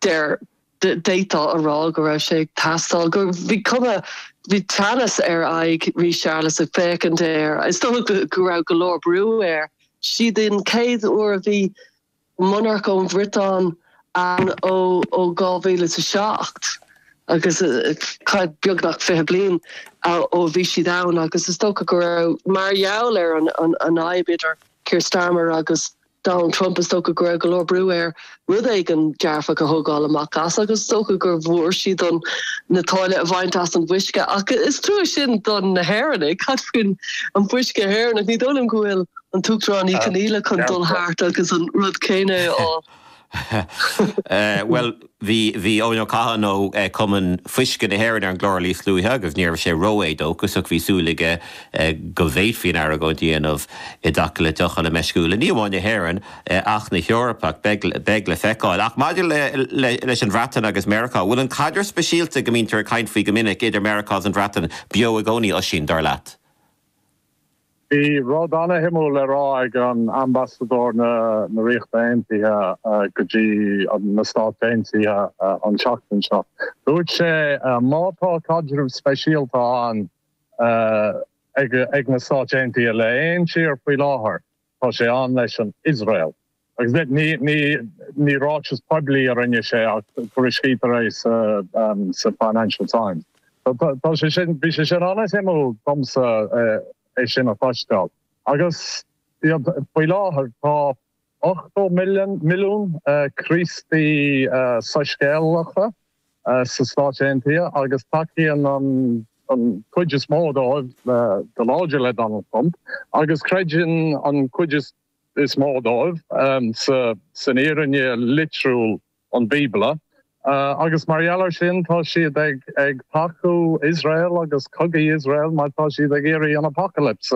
Deir, d'fhéadfá a rá go raibh sé ag teastáil, go, bhí cuma, bhí teannas ar aghaidh Rí Séarlas ag féachaint air. Is dócha go raibh go leor brú air. Siad an chéad uair a bhí monarc ón Bhriotáin ann ó 2007 agus beagnach 20 bliain ó bhí siad ann agus is dócha go raibh, mar gheall ar an fhadhb idir Keir Starmer agus Donald Trump, is dócha go raibh go leor brú air rud éigin dearfach a thógáil amach as agus is dócha gur bhfuair siad an na táille a bhaint as an bhfuisce ach is trua sin don na hÉireannaigh. Cad faoin an fuisce Éireannach? Ní dóigh liom go bhfuil an tUachtarán Ní Chonaola chun dul thart agus an rud céanna a fháil. Bhuel, bhí, bhí Eoin Ó Catháin ó Cumann Fuisce na hÉireann ar an gclár níos luaithe agus ní raibh sé ró-éadóchasach, bhí súil aige go bhféadfaí an argóint a dhéanamh i dtaca le deoch ola meisciúla, ní amháin na hÉireann ach na hEorpa, ach beidh, beidh le feiceáil. Ach maidir le, le, leis an Bhreatain agus Meiriceá, bhfuil an caidreamh speisialta go mbítear ag caint faoi go minic idir Meiriceá agus an Bhreatain beo i gcónaí, Oisín, dar leat? Bhí rud ana-shuimiúil le rá ag an ambasadóir na Ríochta Aontaithe go dtí na Stáit Aontaithe an tseachtain seo. Dúirt sé má tá caidreamh speisialta ann ag na Stáit Aontaithe le aon tír faoi láthair, tá sé ann leis an Iosrael. Agus ní ráiteas poiblí a rinne sé ach tuairiscítear é sa Financial Times. Tá sé sin, bhí sé sin an-suimiúil domsa é sin a chloisteáil. Agus faoi láthair tá 80 milliún Críostaí soiscéalacha sa Stáit Aontaithe agus tacaíonn an chuid is mó dóibh go láidir le Donald Trump agus creideann an chuid is is mó dóibh san fhírinne litriúil an Bíobla, agus mar gheall air sin tá siad ag tacú Iosrael agus cogaí Iosrael mar tá siad ag iarraidh an apocalypse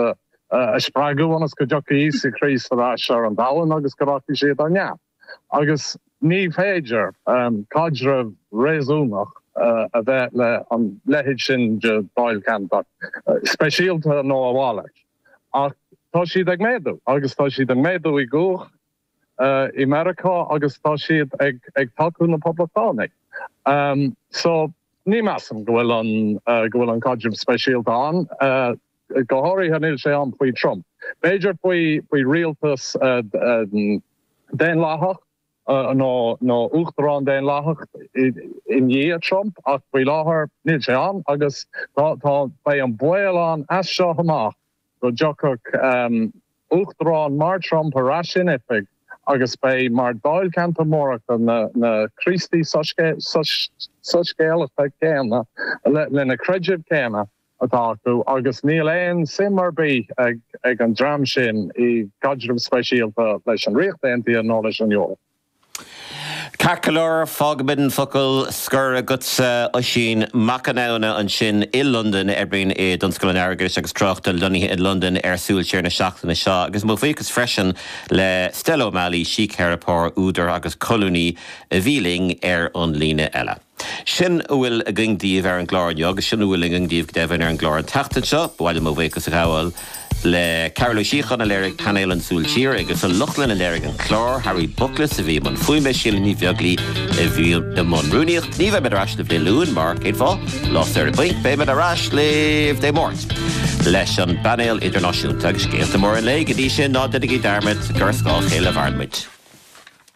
a spreagadh ionas go dtiocfaidh Íosa Críost ar ais ar an domhan agus go rachaidh siad ar neamh. Agus ní féidir caidreamh réasúnach a bheith le an leithéid sin de dáilcheantar, speisialta nó a mhalairt. Ach tá siad ag méadú, agus tá siad ag méadú i gcumhacht i Meiriceá agus tá siad ag tacú na Poblachtánaigh. So, ní measaim go bhfuil an, go bhfuil an caidreamh speisialta ann. Go háirithe níl sé ann faoi Trump. B'fhéidir faoi, faoi rialtas daonlathach. nó nó uachtarán daonlathach i ndiaidh Trump ach faoi láthair níl sé ann agus tá tá beidh an baol ann as seo amach go dtiocfadh uachtarán mar Trump ar ais in oifig agus beidh mar dáilcheantar mór acu na na Críostaí soiscéalacha céanna lena creideamh céanna atá acu agus níl aon suim ar bith ag an dream sin i gcaidreamh speisialta leis an Ríocht Aontaithe nó leis an Eoraip. Ceart go leor, fágfaimid an focal scoir agatsa, Oisín Mac Con Aodhna ansin i Londain, a oibríonn i dtionscal an airgeadais agus tráchta lonnaithe i Londain ar Súil Siar na seachtaine seo. Agus mo bhuíochas freisin le Stella O'Malley, síctheiripeoir, údar agus colúnaí a bhí linn ar an líne eile. Sin a bhfuil againn daoibh ar an gclár inniu, agus sin a bhfuil againn daoibh go deimhin ar an gclár an tseachtain seo. Ba mhaith liom mo bhuíochas a ghabháil le Cearbhall Ó Síocháin a léirigh painéal an Súil Siar, Aengus Ó Lochlainn a léirigh an clár, Harry Bookless a bhí i mbun fuaime, Síle Ní Bheaglaoi a bhí i mbun rúnaíocht. Ní bheimid ar ais libh Dé Luain, mar cén fáth? Lá saoire bainc. Beimid ar ais libh Dé Máirt leis an bpainéal idirnáisiúnta agus scéalta móra an lae. Go dtí sin, ná déanaigí dearmad gur ar scáth a chéile a mhaireann muid.